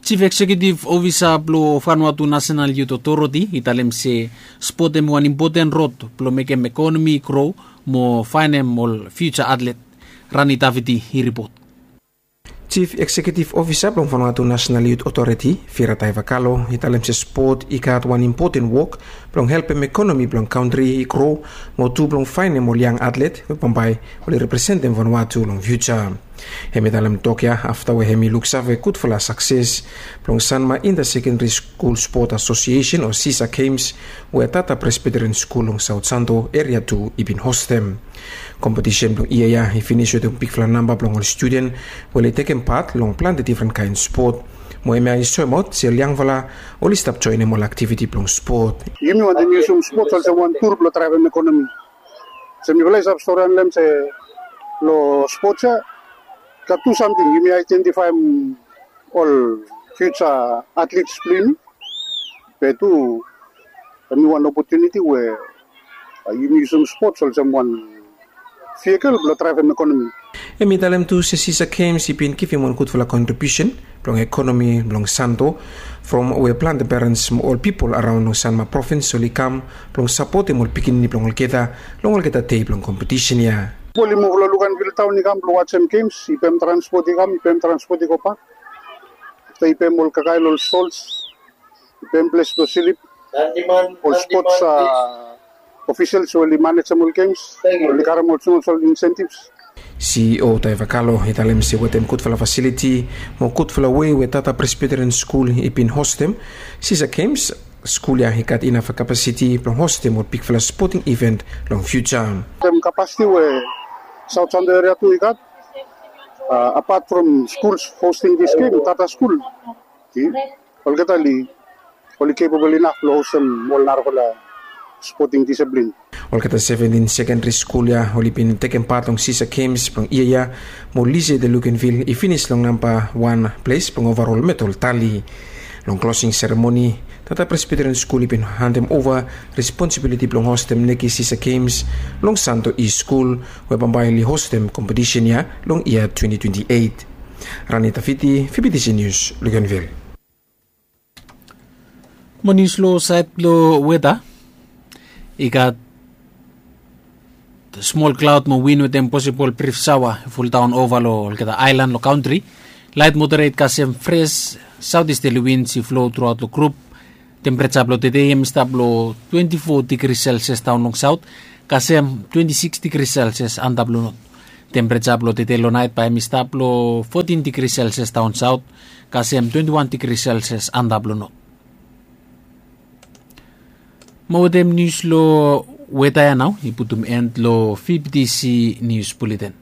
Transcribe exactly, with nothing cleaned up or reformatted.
Sif eksekiutif ofisa blong Vanuatu Nasenal Yut Otoriti i talem se spot hem i wan impoten rod blong mekem ekonomi i gro mo faenem ol fiuja atlet. Rani Daviti i ripot. Sif eksekiutif ofisa blong Vanuatu Nasenal Yut Otoriti, Fira Taivakalo, i talem se spot i gat wan impoten wok blong helpem ekonomi blong kantri i gro mo tu blong faenem ol yang atlet we bambae oli representem Vanuatu long fiuja. Hem i talem tok ya afta we hem i luksave gudfala sakses blong Sanma Inta Sekendri Skul Spot Asosiesen o Sisa Games we Tata Presbiteren Skul long Saut Santo Eria Tu i bin hostem. Kompetisen blong yia ya i finis wetem bigfala namba blong ol studen we oli tekem pat long plante difren kaen spot. Mo hemia i soemaot se ol yangfala oli stap joenem ol aktiviti blong spot. Yumi wantem yusum spot olsem wan tur blong draevem ekonomi. Se mifala i save stori long hem se long spot ya gat tu samting, yumi aedentifaem ol fiuja atlets blong yumi. Be tu hemi wan opotuniti we yumi yusum spot olsem wan vikel blong draevem ekonomi. Hem i talem tu se Sisa Games i bin givim wan gudfala kontribiusen blong ekonomi blong Santo, from we plante perens mo ol pipol araon long Sanma provins oli kam blong sapotem ol pikinini blong olgeta long olgeta dei blong kompetisen ya. Pipol i muv long Luganvil taon i kam blong wajem gems, i pem transpot i kam, i pem transpot i gobak. Afta i pem ol kakae long ol stols, i pem ples blong slip. Ol spots ofisels we oli manejem ol gems oli karem ol smol smol insentivs. CEO Taivakalo i talem se wetem gudfala fasiliti mo gudfala wei we Tata Presbiteren Skul i bin hostem Sisa Games, skul ya i gat inaf kapasiti blong hostem ol bigfala spoting iven long fiuja. Wetem kapasiti we Saut Santo Eria Tu i gat, apat from skuls hosting dis gem, Tata Skul, olgeta oli oli kepabol inaf blong hostem ol narafala spoting disiplin. Olgeta seventin sekendri skul ya oli bin tekem pat long Sisa Games blong yia ya, mo Lise de Lukenvil i finis long namba wan ples blong ovarol medal tali. Long klosing seremoni, Tata Presbiteren Skul i bin handem ova responsibiliti blong hostem Neki Sisa Games long Santo East Skul we bambae oli hostem kompetisen ya long yia twenti twenti eit. Rani Tafiti, VBTC News, Lukenvil. Mo nius long saed blong weta, i gat smol klaod mo win wetem posibol brif saoa i fuldaon ova long olgeta aelan long kantri. Laet moderet kasem fres saotisterli wins i flo truaot long grup. Tempereja blong tede hem i stap long twenti fo digri selsias daon long saot kasem twenti sikis digri selsias antap long not. Tempereja blong tede long naet bae hem i stap long fotin digri selsias daon saot kasem twenti wan digri selsias antap long not. Mo wetem nius long weta ya nao i putum en long VBTC Nius Buleten.